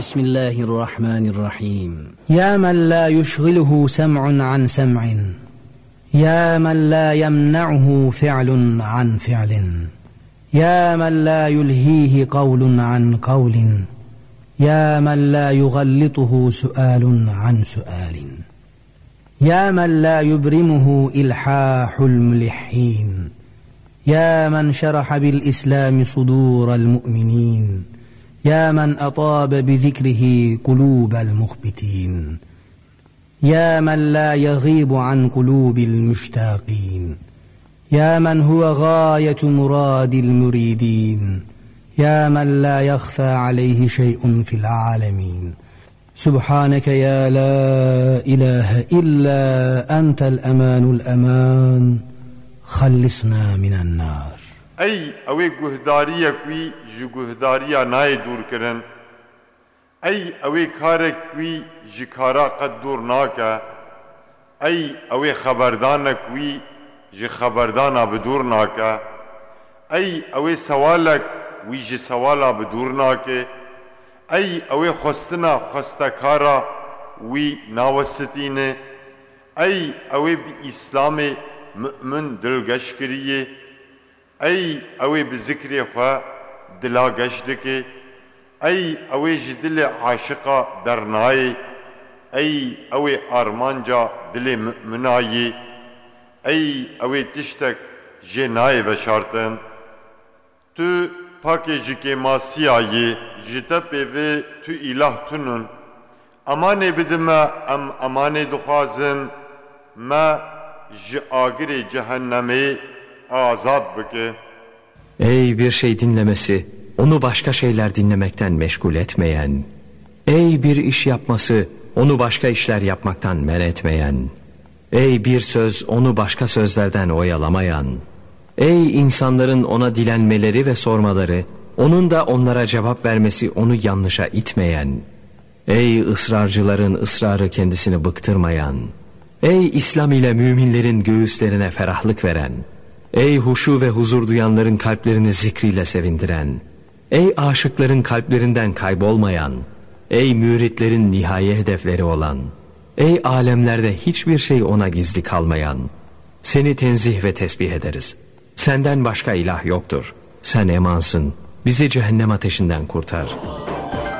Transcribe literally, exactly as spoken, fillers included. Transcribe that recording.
بسم الله الرحمن الرحيم. يا من لا يشغله سمع عن سمع، يا من لا يمنعه فعل عن فعل، يا من لا يلهيه قول عن قول، يا من لا يغلطه سؤال عن سؤال، يا من لا يبرمه إلحاح الملحين، يا من شرح بالإسلام صدور المؤمنين، يا من أطاب بذكره قلوب المخبتين، يا من لا يغيب عن قلوب المشتاقين، يا من هو غاية مراد المريدين، يا من لا يخفى عليه شيء في العالمين. سبحانك يا لا إله إلا أنت الأمان الأمان، خلصنا من النار. Ey ewê guhdariyek wî ji guhdariya nayê dûr kirin. Ey ewê karek wî ji kara qet dûr nake. Ey ewê xeberdanek wî ji xeberdana bi dûr nake. Ey ewê sewalek wî ji sewala bi dûr nake. Ey ewê xwestina xwestekara wî nawesitîne. Ey ewê bi Îslamê mu'min dilgeş kiriye. Ey ewê bi zikrê xwe dila geş dike. Ey ewê ji dilê aşiqa dernayê. Ey ewê armanca dilê mu'mina yê. Ey ewê tiştek jê nayê veşartin. Tu pakê ji kêmasiya yê, ji te pê ve tu îlah tunun. Emanê bide me, em emanê dixwazin, me ji agirê cehennemê azad bike. Ey bir şey dinlemesi, onu başka şeyler dinlemekten meşgul etmeyen. Ey bir iş yapması, onu başka işler yapmaktan men etmeyen. Ey bir söz, onu başka sözlerden oyalamayan. Ey insanların ona dilenmeleri ve sormaları, onun da onlara cevap vermesi onu yanlışa itmeyen. Ey ısrarcıların ısrarı kendisini bıktırmayan. Ey İslam ile müminlerin göğüslerine ferahlık veren. Ey huşu ve huzur duyanların kalplerini zikriyle sevindiren. Ey aşıkların kalplerinden kaybolmayan. Ey müritlerin nihai hedefleri olan. Ey alemlerde hiçbir şey ona gizli kalmayan. Seni tenzih ve tesbih ederiz. Senden başka ilah yoktur. Sen emansın. Bizi cehennem ateşinden kurtar.